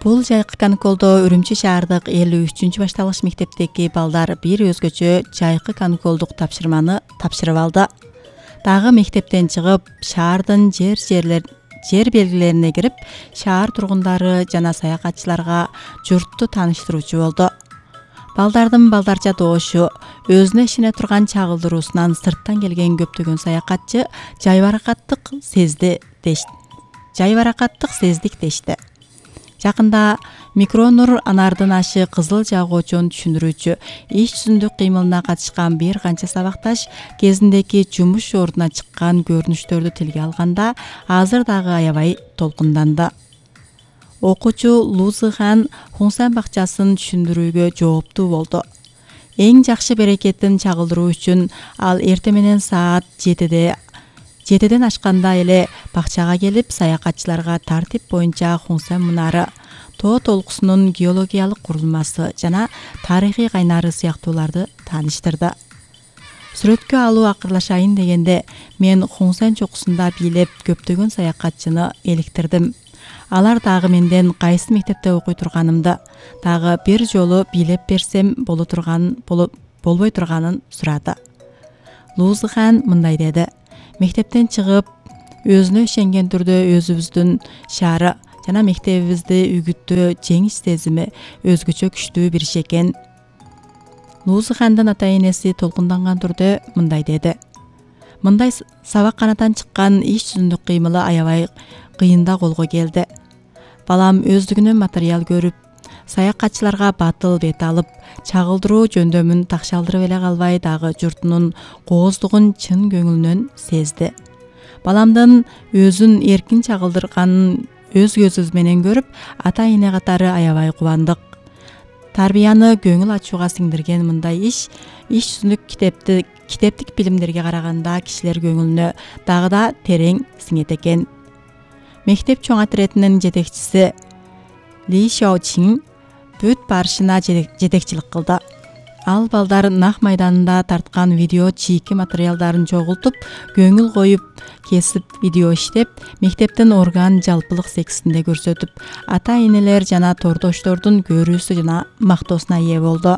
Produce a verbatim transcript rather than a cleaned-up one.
Бул жайкы каникулдо Үрүмчү шаардык элүү үчүнчү башталгыч мектептеги балдар бир өзгөчө жайкы каникулдук тапшырманы тапшырып алды. Дагы мектептен чыгып, шаардын жер жерлер жер белгилерине кирип, шаар тургундары жана саякатчыларга журтту тааныштыруучу болду. Балдардын балдарча доошу, өзүнө ишене турган чагылдыруусунан сырттан келген көптөгөн саякатчы жайбаракаттык сезди деш. Жайбаракаттык сездик дешти. Жакында Микронур Анардын ашы кызыл жагуучун түшүндүрүүчү иш жүзүндүк кыймылына катышкан бир канча сабакташ кезиндеги жумуш ордуна чыккан көрүнүштөрдү тилге алганда азыр дагы аябай толкунданды. Окуучу Лузыхан Хунсан бакчасын түшүндүрүүгө жооптуу болду. Эң жакшы берекеттин чагылдыруу үчүн ал эртең менен саат жетиде жетиден ашканда эле бакчага келип, саякатчыларга тартип боюнча Хунсан мунары, тоо толкусунун геологиялык курулмасы жана тарыхый кайнары сыяктууларды тааныштырды. Сүрөткө алуу акырлашайын дегенде мен Хунсан чокусунда бийлеп көптөгөн саякатчыны эликтирдим. Алар дагы менден кайсы мектепте окуй турганымды, дагы бир жолу бийлеп берсем боло турган болбой турганын сурады. Лузыхан мындай деди: мектептен чыгып, өзүнө ишенген түрдө өзүбүздүн шаары жана мектебибизди үгүттөө жеңиш сезими өзгөчө күчтүү бир иш экен. Лузыхандын ата-энеси толкунданган түрдө мындай деди: мындай сабак канатан чыккан иш жүзүндүк кыймылы аябай кыйында колго келди. Балам өздүгүнөн материал көрүп, саякатчыларга батыл бет алып, чагылдыруу жөндөмүн такшалдырып эле калбай, дагы журтунун кооздугун чын көңүлүнөн сезди. Баламдын өзүн эркин чагылдырганын өз көзүбүз менен көрүп, ата-эне катары аябай кубандык. Тарбияны көңүл ачууга сиңдирген мындай иш, иш жүзүндүк китепти китептик билимдерге караганда кишилер көңүлүнө дагы да терең сиңет экен. Мектеп чоң отрядынын жетекчиси Ли Шаочин бүт барышына жетекчилик кылды. Ал балдар нах майданында тарткан видео чийки материалдарын чогултуп, көңүл коюп, кесип видео иштеп, мектептин орган жалпылык сексинде көрсөтүп, ата-энелер жана тордоштордун көрүүсү жана мактоосуна ээ болду.